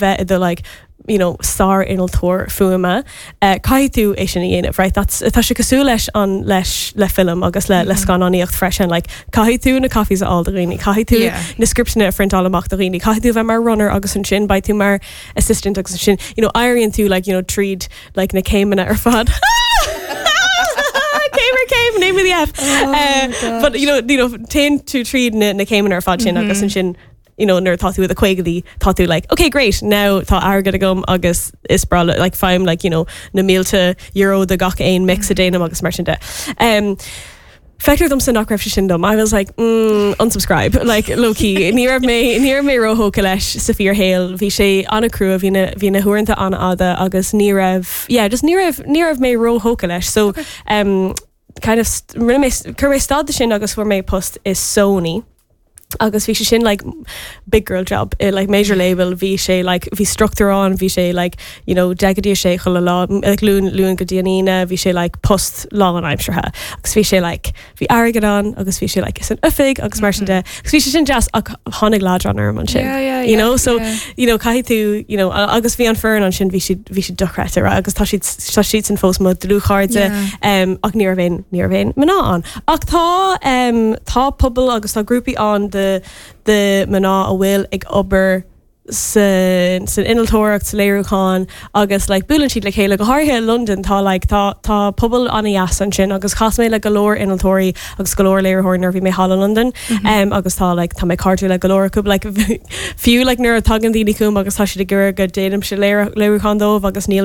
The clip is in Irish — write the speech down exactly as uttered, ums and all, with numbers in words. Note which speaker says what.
Speaker 1: bheith i do like you know sár-innealtóir fuaime uh, caithfidh tú é sin a dhéanamh right that's tá sé cosúil leis an leis le film agus le le scannánaíocht freisin like caithfidh tú na coffees a fháil do dhaoine caithfidh tú
Speaker 2: Yeah.
Speaker 1: na scripteanna a phrintáil amach do dhaoine caithfidh tú bheith mar runner agus ansin beidh tú mar assistant agus ansin you know éiríonn tú like you know tríd like na céimeanna ar fad Céim ar céim name of the F uh, but you know you know téann tú tríd na, na céimeanna ar fad sin agus ansin you know nuair tá tú i do chaogaidí tá tú like okay great now tá airgead agam agus is breá like faighim like you know na mílte euro do gach aon mix a dhéanaim agus mar sin de. Um, Feictear domsa nach raibh sé sin dom. I was like mm, unsubscribe like low key ní raibh mé ní raibh mé róthógtha leis sa fíorshaol bhí sé an-chrua bhí na bhí na huaireanta an-fhada agus ní raibh yeah just ní raibh ní raibh mé róthógtha leis so um, kind of st- rinne mé chuir mé stad de sin agus fuair mé post i Sony. agus bhí sé sin like big girl job i like major label bhí sé like bhí struchtúr ann bhí sé like you know deich go dtí a sé chuile lá like Luan Luan go dtí an Aoine bhí sé like post lánaimseartha agus bhí sé like bhí airgead ann agus bhí sé like is an oifig agus mar sin de agus bhí sé sin deas ach tháinig leadrán orm ansin
Speaker 2: Yeah, yeah,
Speaker 1: you
Speaker 2: yeah,
Speaker 1: know so
Speaker 2: yeah.
Speaker 1: you know caithfidh tú you know a- agus bhí an foireann ansin bhí siad bhí siad dochreidte right? agus tá siad tá siad sin fós mo dlúthchairde
Speaker 2: Yeah.
Speaker 1: um, ach ní raibh aon ní raibh aon mná ann. Ach tá um, tá pobal agus tá grúpaí ann de de mná a bhfuil ag obair sa san innealtóireacht sa léiriúchán agus like buaileann siad le chéile go háirithe i London tá like tá tá pobal an-deas ansin agus chas mé le go leor innealtóirí agus go leor léiritheoirí nuair bhí mé thall i London um, agus tá like tá mé cairdiúil le go leor acu like fiú like nuair a tagann daoine chugam agus tá siad ag iarraidh go déanaimse léiriúchán dóibh agus níl